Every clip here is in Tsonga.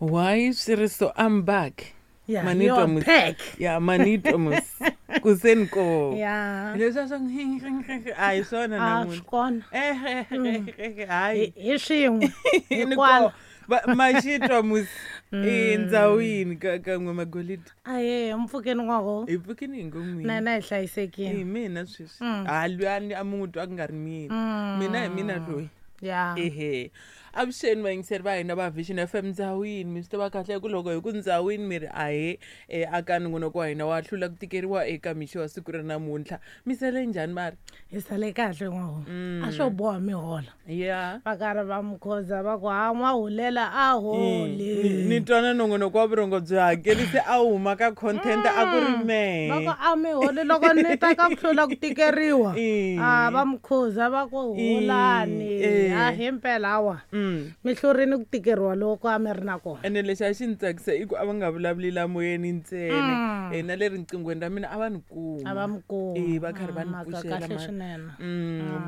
Why swi ri so? I'm back. Yeah, Manitwa you're mus. back. Yeah, manitwa mus. Kuseni ko. Yeah. Leswiya swa a hi swona A swi namuntlha. kona. Eh, hayi. Hi swin'we. Ni Hikwalo. ko. Maxitwa mus. Endzhawini ka kan'we magolidi. Ahee, mpfhukeni n'waho. Hi pfukini hi ngo n'wini. Na hina hi Hi hlayisekile. mina sweswi. Ha luyani a mi n'wi twa ku nga ri mina. Mina hi mina loyi. Yeah. Ehe. Avuxeni vayingiseri va hina va Vision FM ndzhawini mi swi tiva kahle ku loko hi ku ndzhawini mi ri ahee aka nongonoko wa hina wa hlula ku tikeriwa eka mixo wa siku ra namuntlha mi sele njhani mara Hi sale kahle n'waho. A swo boha mi hola. ya Va karhi va mukhoza va ku ha n'wahulela a holi. ni twa na nongonoko wa vurhongo byi hakelise a huma ka content a ku ri mehe Va ku a mi holi loko ni ta ka ku hlula ku tikeriwa. A va mukhuza va ku holani. A hi mpela hawa. Mi hlurini ku tikeriwa loko a mi ri na kona. Ene lexi a xi ni tsakisa i ku a va nga vulavuli la moyeni ntsena na le riqinghweni ra mina a va ni kuma. A va mi kuma. E va karhi va ni Mhaka pfuxela kahle mara. swinene.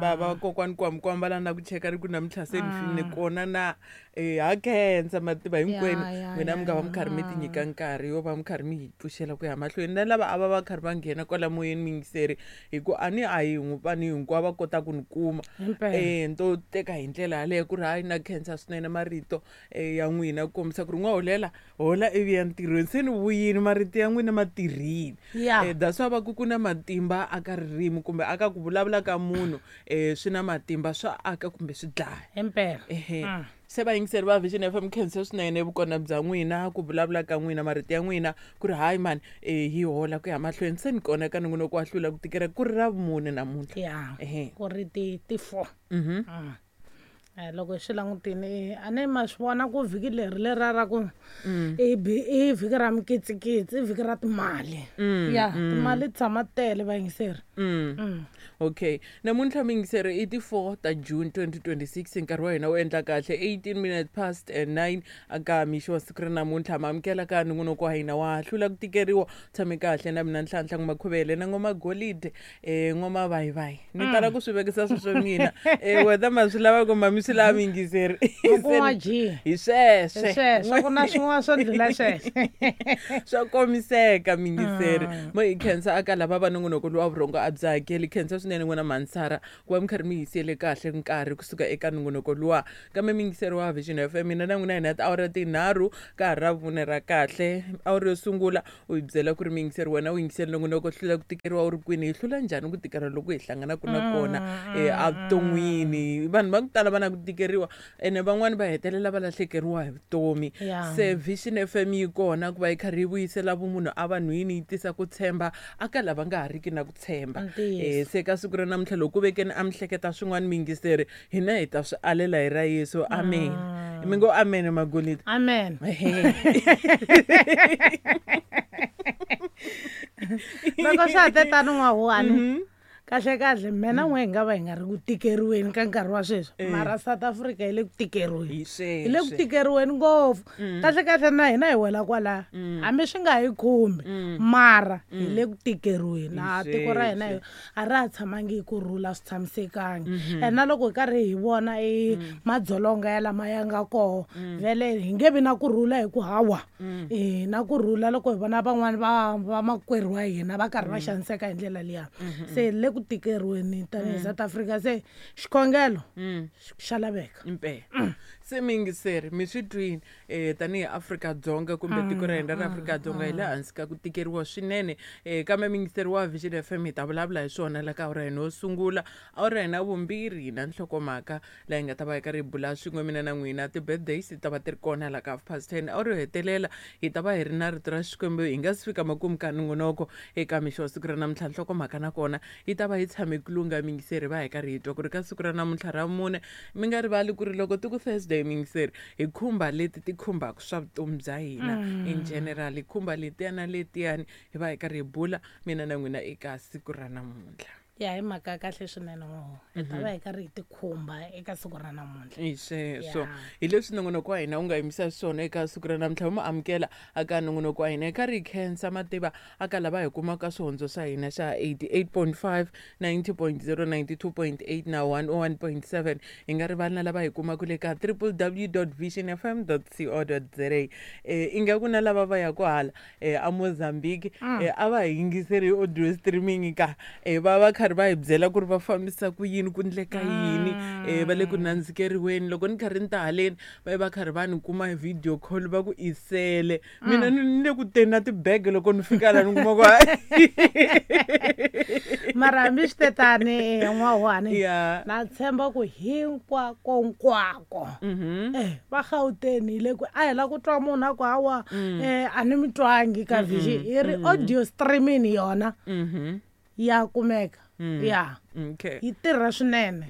Va kokwani kwamkwamba la na ku cheka ri ku namuntlha se ni kona na ha khensa mativa hinkwenu n'wina mi nga va mi karhi mi ti nyika nkarhi yo va mi karhi mi hi pfuxela ku ya mahlweni na lava a va va karhi va nghena kwala moyeni miyingiseri hi ku a ni a hi vanhu hinkwavo va kota ku ni kuma. Himpela. Ni to teka hi ndlela yaleyo ku ri hayi na khensa swinene marito ya n'wina ku kombisa ku ri n'wa holela hola ivi ya ntirhweni se ni vuyini marito ya n'wina ma tirhile. That's why va ku ku na matimba aka ririmi kumbe aka ku vulavula ka munhu swi na matimba swa aka kumbe swi dlaya. Himpela. Ehe. Se vayingiseri va Vision FM khensa swinene vukona bya n'wina ku vulavula ka n'wina marito ya n'wina ku ri hayi mani hi hola ku ya mahlweni se ni kona ka nongonoko wa hlula ku tikela ku ri ra vumune namuntlha. Yeah. Ehe. Ku ri ti 4. Loko hi swi langutini a ni ma swi vona ku vhiki leri lera ra ku i vhiki ra mikitsikitsi i vhiki ra timali. Ya timali ti tshama tele vayingiseri. Okay, namuntlha miyingiseri i ti 4 ta June 2026 nkarhi wa hina wu endla kahle 18 minutes past 9 aka mixo wa siku ra namuntlha ma amukela ka nongonoko wa hina wa hlula ku tikeriwa tshame kahle na mina Nhlanhla N'wamakhovele na N'wama Golide N'wama Vayivayi ni tala ku swi vekisa sweswo mina whether ma swi lava kumbe mi swi lava miyingiseri Ku n'wa G. hi sweswe Hi sweswo ku na swin'wana swo ndlula sweswo. Swa komiseka miyingiseri mo hi khensa aka lava va nongonoko lowa vurhongo a byi hakeli khensa swinene n'wina Mansara ku va mi karhi mi hi siyele kahle nkarhi kusuka eka nongonoko luwa kambe miyingiseri wa Vision FM mina na n'wina hi na tiawara tinharhu ka ha ra vumune ra kahle awara yo sungula u hi byela ku ri miyingiseri wena u yingiseli nongonoko hlula ku tikeriwa u ri kwini hi hlula njhani ku tikeriwa loko hi hlanganaka na kona evuton'wini vanhu va ku tala va na ku tikeriwa ene van'wani va hetelela va lahlekeriwa hi vutomi. Se Vision FM yi kona ku va yi karhi yi vuyisela vumunhu evanhwini yi tisa ku tshemba aka lava nga ha riki na ku tshemba. Se ka siku ra namuntlha loko ku vekeni a mi hleketa swin'wana miyingiseri hina hi ta swi alela hi ra Yesu. Amen. Mi ngo amen Magolide. Amen. Loko swa ha te tano n'wahuwani kahle kahle mina n'we hi nga va hi nga ri ku tikeriweni ka nkarhi wa sweswi mara South Africa yi le ku tikeriweni. Hi le ku tikeriweni ngopfu. Kahle kahle na hina hi wela kwala hambi swi nga hi khumbi mara hi le ku tikeriweni. A tiko ra hina a ra ha tshamangi hi ku rhula swi tshamisekangi. And na loko hi karhi hi vona i madzolonga ya lama ya nga koho vhele hi nge vi na ku rhula hi ku hawa na ku rhula loko hi vona van'wani va makwerhu wa hina va karhi va xaniseka hi ndlela liya. Se le ku tikeriweni tanihi South Africa se xikhongelo xa laveka. Impela. Se miyingiseri mi swi twini tanihi Afrika-Dzonga kumbe tiko ra hina ra Afrika-Dzonga hi le hansi ka ku tikeriwa swinene kambe miyingiseri wa Vision FM hi ta vulavula hi swona la ka awara hina yo sungula awara hina vumbirhi na nhlokomhaka laha hi nga ta va hi karhi hi bula swin'we mina na n'wina ti-birthdays ti ta va ti ri kona la ka 10:30 awara yo hetelela hi ta va hi ri na rito ra Xikwembu hi nga si fika makumu ka nongonoko eka mixo wa siku ra namuntlha nhlokomhaka nakona yi ta va yi tshame ku lungha miyingiseri va hi karhi hi twa ku ri ka siku ra namuntlha ra mune mi nga rivali ku ri loko ti ku Thursday miyingiseri hi khumba leti ti khumbaka swa vutomi bya hina in general hi khumba letiya na letiyani hi va hi karhi hi bula mina na n'wina eka siku ra namuntlha. Ya, hi mhaka ya kahle swinene n'waho. Hi ta va hi karhi hi tikhumba eka siku ra namuntlha. Hi sweswo. Ya. Hi leswi nongonoko wa hina wu nga yimisa swona eka siku ra namuntlha. Wu mu amukela aka nongonoko wa hina hi karhi hi khensa mativa aka lava hi kumaka swihondzo swa hina xa 88.5, 90.0, 92.8 na 101.7. Hi nga rivali na lava hi kumaka le ka www.visionfm.co.za. Ingaku na lava va yaka hala a Mozambique, a va hi yingiseri hi audio streaming ka va va karhi va hi byela ku ri va fambisa ku yini, ku ndleka yini, va le ku nandzikeriweni. Loko ni karhi ni ta haleni va va karhi va ni kuma hi video call va ku isele mina ni le ku teni na tibege, loko ni fika la ni kuma ku Mara hambi swi tetani, n'wahuhani, ya na tshemba ku hinkwakonkwako va Gauteng hi le ku a hi la ku twa munhu a ku hawa, a ni mi twangi ka Vision. Hi ri audio streaming yona ya kumeka, ya yi tirha swinene.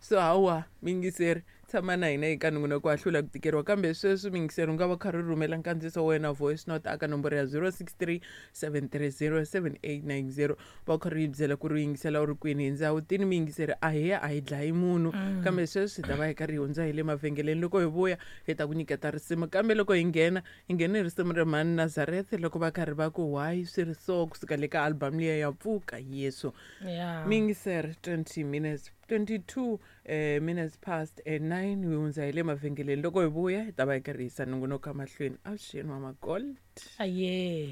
So hawa mingiseri, tshama na hina eka nongonoko wa Hlula ku Tikeriwa. Kambe sweswi mingiseri, u nga va karhi u rhumela nkandziyiso wa wena, voice note, aka nomboro ya 063 730 7890, va karhi yi byela ku ri u yingisela u ri kwini hi ndzawutini. Miyingiseri, a hi ya a hi dlayi munhu, kambe sweswi hi ta va hi karhi hi hundza hi le mavhengeleni. Loko hi vuya hi ta ku nyiketa risimu, kambe loko hi nghena, hi nghene hi risimu ra Mhani Nazareth loko va karhi va ku "Why swi ri so", kusuka le ka album liya ya Pfuka Yesu. Mingiseri, 20 minutes, 22 minutes past 9, hi hundza hi le mavhengeleni. Loko hi vuya hi ta va hi karhi hisa nongonoko mahlweni. Avuxeni wa Magold. Aye.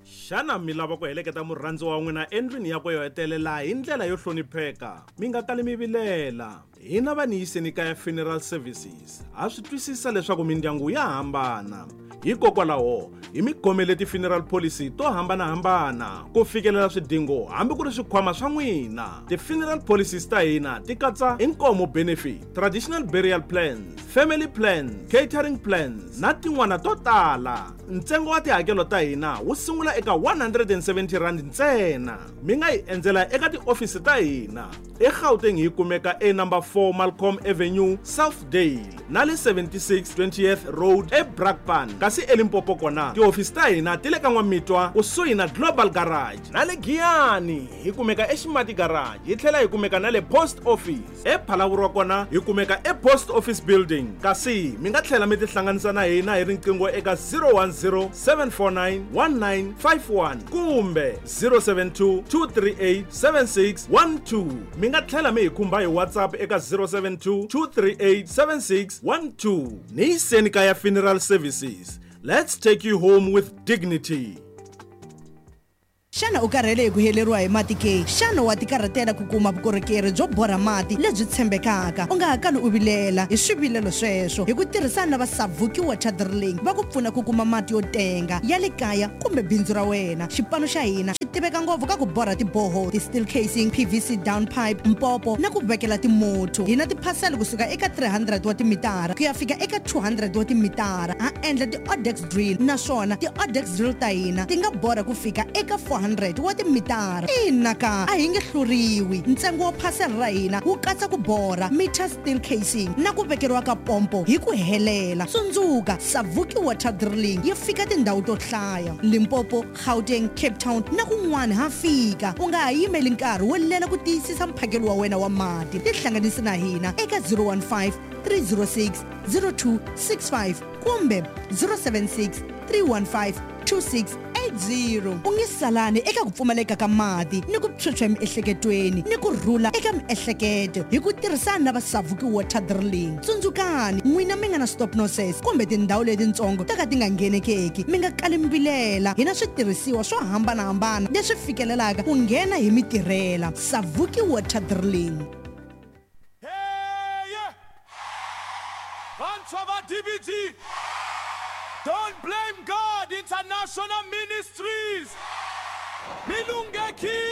Xana mi lava ku heleketa murhandziwa wa n'wina endlwini yakwe yo hetelela hi ndlela yo hlonipheka? Mi nga kali mi vilela, hina va Niyiseni Kaya Funeral Services ha swi twisisa leswaku mindyangu ya hambana. Hikokwalaho hi mi khomele ti-funeral policy to hambanahambana ku fikelela swidingo hambi ku ri swikhwama swa n'wina. Ti-funeral policies ta hina ti katsa inkomo benefit, traditional burial plans, family plans, catering plans na tin'wana to tala. Ntsengo wa tihakelo ta hina wu sungula eka R170 ntsena. Mi nga hi endzela eka tiofisi ta hina eGauteng, hi kumeka e number 4 Malcolm Avenue, Southdale, na le 76 20th Road eBrakpan. Kasi eLimpopo kona tihofisi ta hina ti le ka N'wamitwa kusuhi na Global Garage, na le Giyani hi kumeka eXimati Garage, hi tlhela hi kumeka na le Post Office. EPhalavurwa kona hi kumeka ePost Office Building. Kasi mi nga tlhela mi tihlanganisa na hina hi riqingho eka 010 749 1951 kumbe 072 238 7612. Mi nga tlhela mi hi khumba hi WhatsApp eka 072 238 7612. Niyiseni Kaya Funeral Services, let's take you home with dignity. Xana u karhele hi ku heleriwa hi mati ke? Xana wa tikarhatela ku kuma vukorhokeri byo borha mati lebyi tshembekaka? U nga ha kali u vilela hi swivilelo sweswo. Hi ku tirhisana na va Savuki Water Drilling, va ku pfuna ku kuma mati yo tenga ya le kaya kumbe bindzu ra wena. Xipano xa hina xi tiveka ngopfu ka ku borha tiborehole, ti-steel casing, PVC down pipe, mpopo na ku vekela timotho. Hi na tiphasela kusuka eka 300 wa timitara ku ya fika eka 200 wa timitara. Ha endla ti-odex drill, naswona ti-odex drill ta hina ti nga borha ku fika eka 400 wa timitara. Ina ka, a hi nge hluriwi. Ntsengo wa phasela ra hina wu katsa ku borha meter, steel casing na ku vekeriwa ka pompo hi ku helela. Tsundzuka, Savuki Water Drilling yi fika tindhawu to hlaya: Limpopo, Gauteng, Cape Town na kun'wana ha fika. U nga ha yimeli nkarhi wo lela ku tiyisisa mphakelo wa wena wa mati. Tihlanganisi na hina eka 015 306 0265 kumbe 076 315 2680. U nge salani eka ku pfumaleka ka mati ni ku phyuphya emiehleketweni ni ku rhula eka miehleketo hi ku tirhisana na va Savuki Water Drilling. Tsundzukani, n'wina mi nga na stop nonsense kumbe tindhawu letitsongo to ka ti nga nghenekeki, mi nga kali mi vilela. Hi na switirhisiwa swo hambanahambana leswi fikelelaka ku nghena hi mitirhela. Savuki Water Drilling. Hey! Vantshwa va DBG! Don't Blame God International Ministries! Milungeki!